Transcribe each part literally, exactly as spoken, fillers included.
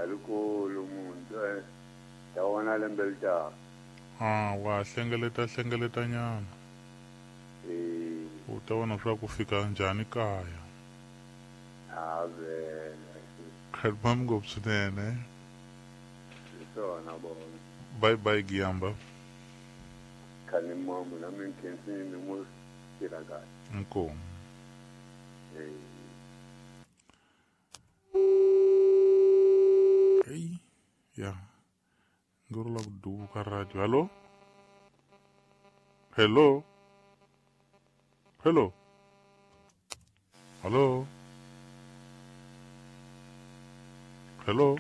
Rikulu munhu eh ta wona lembe litaka. Ah wa hlengeleta hlengeleta nyana. Eh u ta vona swa ku fika njhani kaya. Ave. Khalmam ngopfu swinene. Swona bona. Bye bye Giyamba. Khani mamu na mi nkhensini mo tirha kahle. Inkomu. Eh Hey, ya. Ngoro la ku duka radio. Hello? Hello? Hello? Hello? Hello?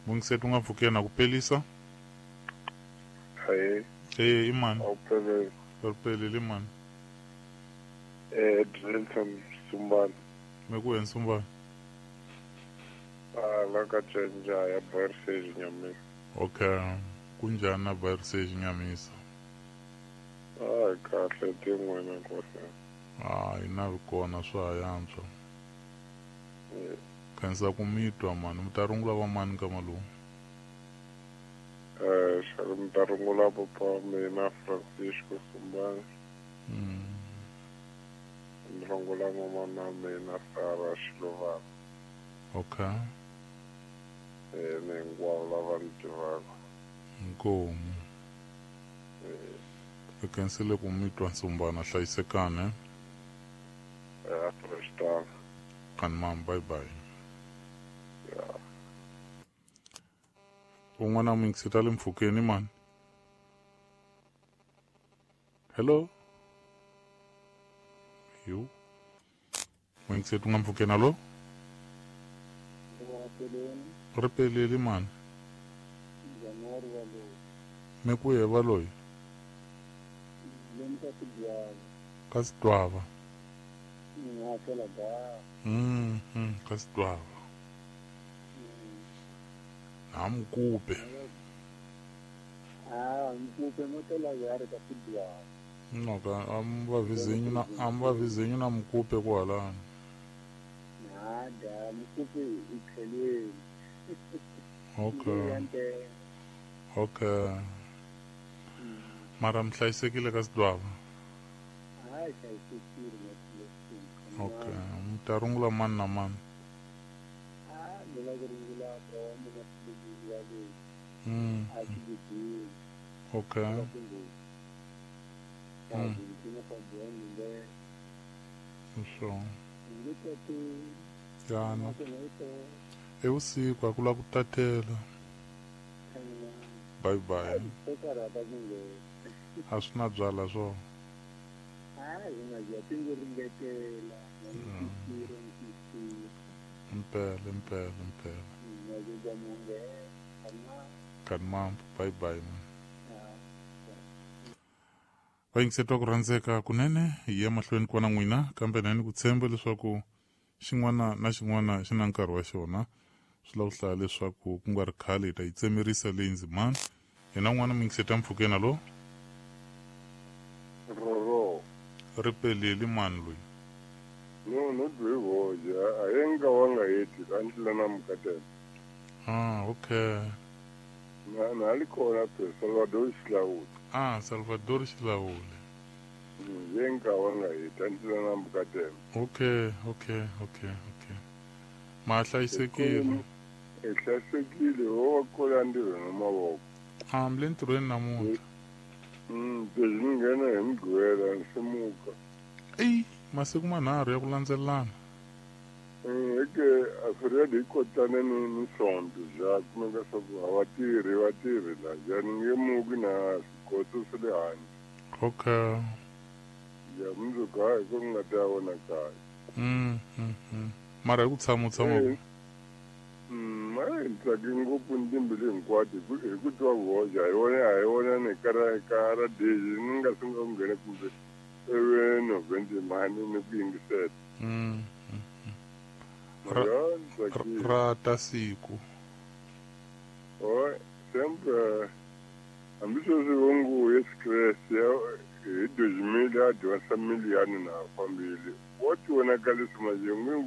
Mungisetu nga pfukena ku pelisa? Hey. Eh, imani. Awuphelele. Awuphelele imani. Eh, Drilton Sumbana. Meku Sumbana. Ah, la ka Tjenja ya Barsage Nyamisa. Okay. Kunjani na Barsage Nyamisa? Ah, kahle tin'wana nkosi. Ah, ina kona swa yantswa. Khansa ku mitwa mani, mi ta rungula va mani ka malume? Eh, xana mi ta rungula papa wa mina Francisco Sumbana. Mm. Mi rungula mama wa mina Sarah Xilovana. Okay. Eh, ni hinkwavo lava ni tivaka. Inkomu. Eh. I khensile ku mitwa Sumbana, hlayisekani. Eh, Afristan. Kani mam, bye bye. Yeah. Un'wana mingiseta le mpfhukeni mani. Hello? Yo. Mingiseta u nga mpfhukeni, hello? Ri peleli mani. Me ku ye va loyi? Ka Sidwava. Mm, mm, ka Sidwava. Na Mkupe. Ah, Mkupe motela ya re ka Sidwava. No ka am va vizinyu na am va vizinyu na Mkupe kwalano. Na da Mkupe i tlhelweni. Okay. Okay. Mara mi hlayisekile ka Sidwava? Hayi, hlayisekile. Okay. Mi ta rungula mani na mani? Ah, ni la ku rungula bra wa mina Silivini wa le. Mm. A Silivini. Okay. Mm. So. Yana. Evusiku a ku la ku tatela. Bye bye. A swi na byala swona. Impela, impela, impela. Kani mambo, bye bye man. Va yingisetwa ku rhandzeka kunene hi ya mahlweni kwana n'wina kambe na ni ku tshemba leswaku xin'wana na xin'wana xi na nkarhi wa xona. Swi lava ku hlaya leswaku ku nga ri khale hi ta yi tsemerisa leyi ndzimana. Hina n'wana mi yingiseta mpfhukeni, alo? Roro. Ri peleli mani loyi? No, no dwe voja. A yenga wanga yeti andlela na mukatela. Ah, okay. Na na alikona pe Salvador Xilaule. Ah, Salvador Xilaule. Yenga wanga yeti andlela na mukatela. Okay, okay, okay, okay. Ma hlayisekile. E hlayisekile ho kola ndiro na mavoko. Ah, mi le ntirhweni namuntlha. Mm, ni nghena hi Mugqivela nsimuka. Eyi, masiku manharhu ya ku landzelelana. Eke Alfred hi kotane ni ni Sonto ja kumeka swa ku a va tirhi va tirhi la ja ni nge muki na swigotso swa le handle. Okay. Ja mundzuku hayi ku nga ta vona kaya. Mm, mm, mm. Mara hi ku tshama u tshama. Mm, a ni tsaki ngopfu ni timbilu hinkwato hi ku hi ku twa voja hi wona a hi wona ni kara kara deji ni nga sungula ku nghena kumbe ewe november mani ni ku yingisela. Mm. Ra, ra ta siku. Oh, sempre hambi sweswi vo ngo Yesu Kreste hi dois mil a dyondzisa miliyani na fambile. Wo ti vonakalisa manje n'wi